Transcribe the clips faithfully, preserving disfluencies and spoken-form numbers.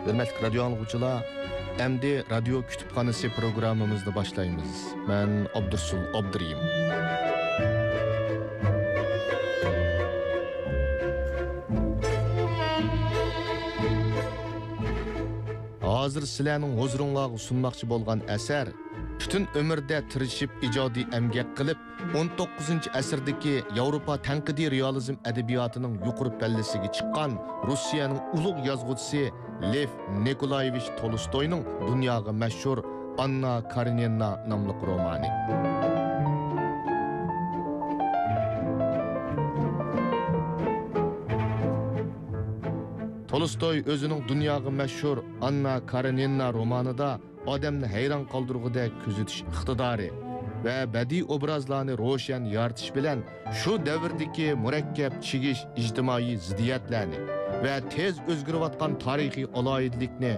ھۆرمەتلىك رادىيو ئاڭلىغۇچىلار، ئەمدى رادىيو كۇتۇپخانىسى پروگراممىمىزنى باشلايمىز. مەن ئابدۇرسۇل ئابدۇرېھىم. ھازىر سىلەرنىڭ ھۇزۇرۇڭلارغا سۇنماقچى بولغان ئەسەر، پۈتۈن ئۆمرىدە تىرىشىپ ئىجادىي ئەمگەك قىلىپ، ئون توققۇزىنچى ئەسىردىكى ياۋروپا تەنقىدىي رېئالىزم ئەدەبىياتىنىڭ يۇقىرى پەللىسىگە چىققان روسىيەنىڭ ئۇلۇغ يازغۇچىسى لېف نىكولايېۋىچ تولستوينىڭ دۇنياغا مەشھۇر ئاننا كارېنىنا ناملىق رومانى. تولستوي ئۆزىنىڭ دۇنياغا مەشھۇر ئاننا كارېنىنا رومانىدا ئادەمنى ھەيران قالدۇرغۇدەك كۆزىتىش ئىقتىدارى ۋە بەدىئىي ئوبرازلارنى روشەن يارىتىش بىلەن شۇ دەۋردىكى مۇرەككەپ چىگىش ئىجتىمائىي زىددىيەتلەرنى ۋە تېز ئۆزگىرىۋاتقان تارىخىي ئالاھىدىلىكنى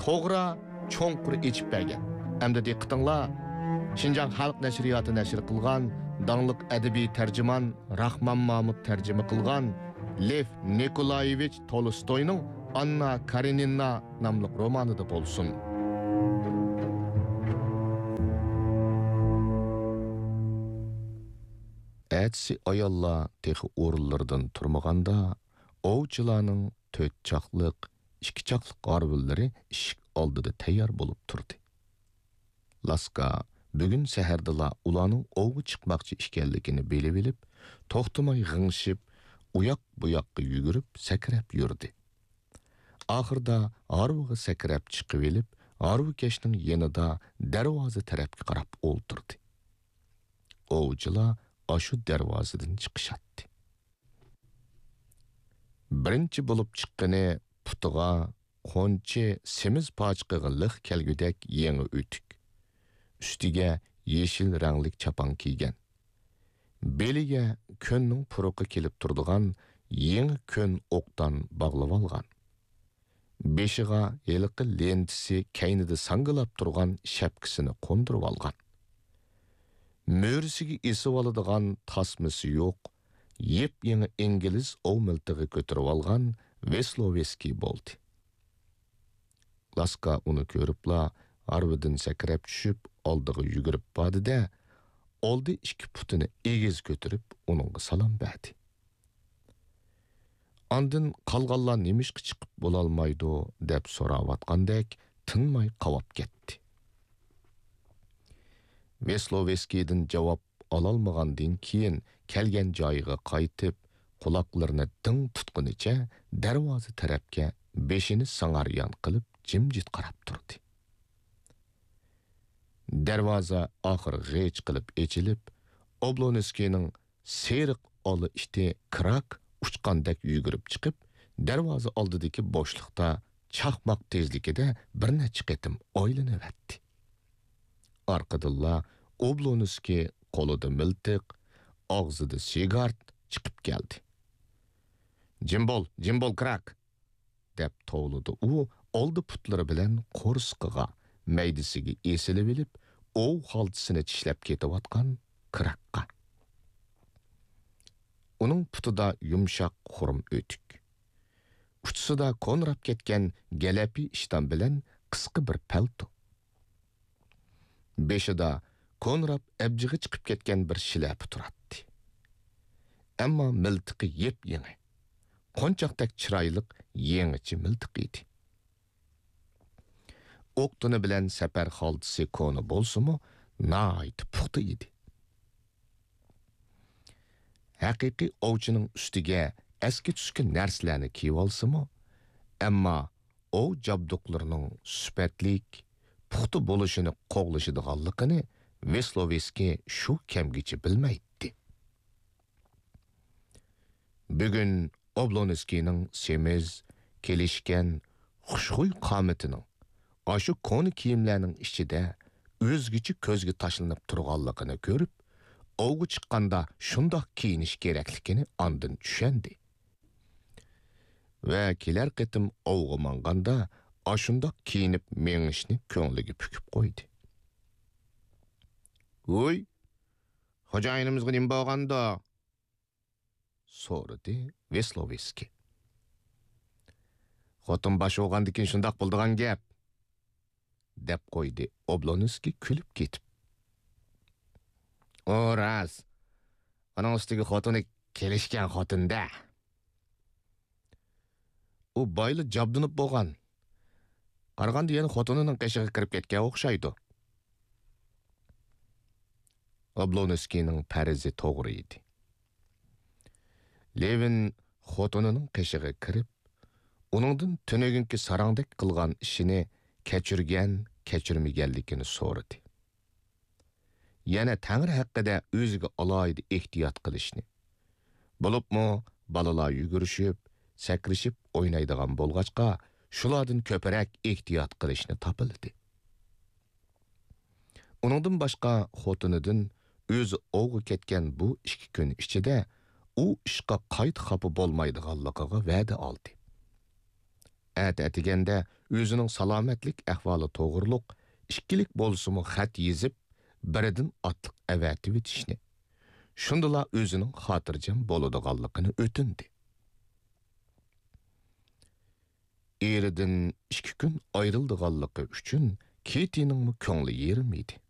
توغرا، چوڭقۇر ئېچىپ بەرگەن. ئەمدى دىققىتىڭلار، شىنجاڭ خەلق نەشرىياتى نەشر قىلغان داڭلىق ئەدەبىي تەرجىمان راخمان مامۇت تەرجىمە قىلغان لېف نىكولايېۋىچ تولستوينىڭ ئاننا كارېنىنا ناملىق رومانىدا بولسۇن. ئەتىسى ئاياللار تېخى ئورۇنلىرىدىن تۇرمىغاندا، ئوۋچىلارنىڭ تۆت چاقلىق، ئىككى چاقلىق ھارۋىلىرى ئىشىك ئالدىدا تەييار بولۇپ تۇردى. لاسكا بۈگۈن سەھەردىلا ئۇلارنىڭ ئوۋغا چىقماقچى ئىكەنلىكىنى بىلىۋېلىپ، توختىماي غىڭشىپ، ئۇياق-بۇياققا يۈگۈرۈپ، سەكرەپ يۈردى. ئاخىرىدا ھارۋىغا سەكرەپ چىقىۋېلىپ، ھارۋىكەشنىڭ يېنىدا دەرۋازا تەرەپكە قاراپ ئولتۇردى. ئوۋچىلار ئاشۇ دەرۋازىدىن چىقىشاتتى. بىرىنچى بولۇپ چىققىنى پۇتىغا قونچە سېمىز پاچىقىغا لىق كەلگۈدەك يېڭى ئۆتۈك، ئۈستىگە يېشىل رەڭلىك چاپان كىيگەن، بېلىگە كۆننىڭ پۇرىقى كېلىپ تۇرىدىغان يېڭى كۆن ئوقدان باغلىۋالغان. بېشىغا ھېلىقى لېنتىسى كەينىدە ساڭگىلاپ تۇرغان شەپكىسىنى قوندۇرۇۋالغان. مۈرىسىگە ئېسىۋالىدىغان تاسمىسى يوق، يېپيېڭى ئىنگلىز ئوۋ مىلتىقى كۆتۈرۈۋالغان ۋېسلوۋېسكىي بولدى. لاسكا ئۇنى كۆرۈپلا ھارۋىدىن سەكرەپ چۈشۈپ، ئالدىغا يۈگۈرۈپ باردى-دە، ئالدى ئىككى پۇتىنى ئېگىز كۆتۈرۈپ، ئۇنىڭغا سالام بەردى. ئاندىن قالغانلار نېمىشقا چىقىپ بولالمايدۇ دەپ سوراۋاتقاندەك تىنماي قاۋاپ كەتتى. ۋېسلوۋېسكىيدىن جاۋاب ئالالمىغاندىن كېيىن كەلگەن جايىغا قايتىپ، قۇلاقلىرىنى دىڭ تۇتقىنىچە دەرۋازا تەرەپكە بېشىنى ساڭاريان قىلىپ جىمجىت قاراپ تۇردى. دەرۋازا ئاخىر غىچ قىلىپ ئېچىلىپ، ئوبلونسكىينىڭ سېرىق ئالا ئىتى كراك ئۇچقاندەك يۈگۈرۈپ چىقىپ، دەرۋازا ئالدىدىكى بوشلۇقتا چاقماق تېزلىكىدە بىر نەچچە قېتىم ئايلىنىۋەتتى. ئارقىدىنلا ئوبلونسكىي قولىدا مىلتىق، ئاغزىدا سىگارت چىقىپ كەلدى. «جىم بول، جىم بول، كراك!» دەپ توۋلىدى ئۇ ئالدى پۇتلىرى بىلەن قورسىقىغا، مەيدىسىگە ئېسىلىۋېلىپ، ئوۋ خالتىسىنى چىشلەپ كېتىۋاتقان كراكقا. ئۇنىڭ پۇتىدا يۇمشاق خۇرۇم ئۆتۈك. ئۇچىسىدا كونىراپ كەتكەن گەلەپى ئىشتان بىلەن قىسقا بىر پەلتو. بېشىدا كونىراپ ئەبجىقى چىقىپ كەتكەن بىر شىلەپە تۇراتتى. ئەمما مىلتىقى يېپيېڭى، قونچاقتەك چىرايلىق يېڭىچە مىلتىق ئىدى. ئوقتىنى بىلەن سەپەر خالتىسى كونا بولسىمۇ، ناھايىتى پۇختا ئىدى. ھەقىقىي ئوۋچىنىڭ ئۈستىگە ئەسكى-تۈسكى نەرسىلەرنى كىيىۋالسىمۇ، ئەمما ئوۋ جابدۇقلىرىنىڭ سۈپەتلىك، پۇختا بولۇشىنى قوغلىشىدىغانلىقىنى ۋېسلوۋېسكىي شۇ كەمگىچە بىلمەيتتى. بۈگۈن ئوبلونسكىينىڭ سېمىز، كېلىشكەن، خۇشخۇي قامىتىنىڭ ئاشۇ كونا كىيىملەرنىڭ ئىچىدە ئۆزگىچە كۆزگە تاشلىنىپ تۇرغانلىقىنى كۆرۈپ، ئوۋغا چىققاندا شۇنداق كىيىنىش كېرەكلىكىنى ئاندىن چۈشەندى. ۋە كېلەر قېتىم ئوۋغا ماڭغاندا ئاشۇنداق كىيىنىپ مېڭىشنى كۆڭلىگە پۈكۈپ قويدى. «ھۇي، خوجايىنىمىزغا نېمە بولغاندۇ؟» سورىدى ۋېسلوۋېسكىي. خوتۇن باش بولغاندىكىن شۇنداق بولىدىغان گەپ، دەپ قويدى ئوبلونسكىي كۈلۈپ كېتىپ. ئۇ راست. ئۇنىڭ ئۈستىگە خوتۇنى كېلىشكەن خوتۇن-دە. ئۇ بايلا جابدۇنۇپ بولغان. قارىغاندا يەنە خوتۇنىنىڭ قېشىغا كىرىپ كەتكەن ئوخشايدۇ. ئوبلونسكىينىڭ پەرىزى توغرا ئىدى. لېۋىن خوتۇنىنىڭ قېشىغا كىرىپ، ئۇنىڭدىن تۈنۈگۈنكى ساراڭدەك قىلغان ئىشىنى كەچۈرگەن، كەچۈرمىگەنلىكىنى سورىدى. يەنە تەڭرى ھەققىدە ئۆزىگە ئالاھىدە ئېھتىيات قىلىشنى، بولۇپمۇ بالىلار يۈگۈرۈشۈپ، سەكرىشىپ ئوينايدىغان بولغاچقا، شۇلاردىن كۆپرەك ئېھتىيات قىلىشنى تاپىلىدى. ئۇنىڭدىن باشقا خوتۇنىدىن ئۆزى ئوۋغا كەتكەن بۇ ئىككى كۈن ئىچىدە ئۇ ئىشقا قايتا خاپا بولمايدىغانلىقىغا ۋەدە ئالدى. ئەتە ئەتىگەندە ئۆزىنىڭ سالامەتلىك ئەھۋالى توغرۇلۇق ئىككىلىك بولسىمۇ خەت يېزىپ، بىرىدىن ئاتلىق ئەۋەتىۋېتىشنى، شۇندىلا ئۆزىنىڭ خاتىرجەم بولىدىغانلىقىنى ئۆتۈندى. ئېرىدىن ئىككى كۈن ئايرىلىدىغانلىقى ئۈچۈن كېتىنىڭمۇ كۆڭلى يېرىم ئىدى.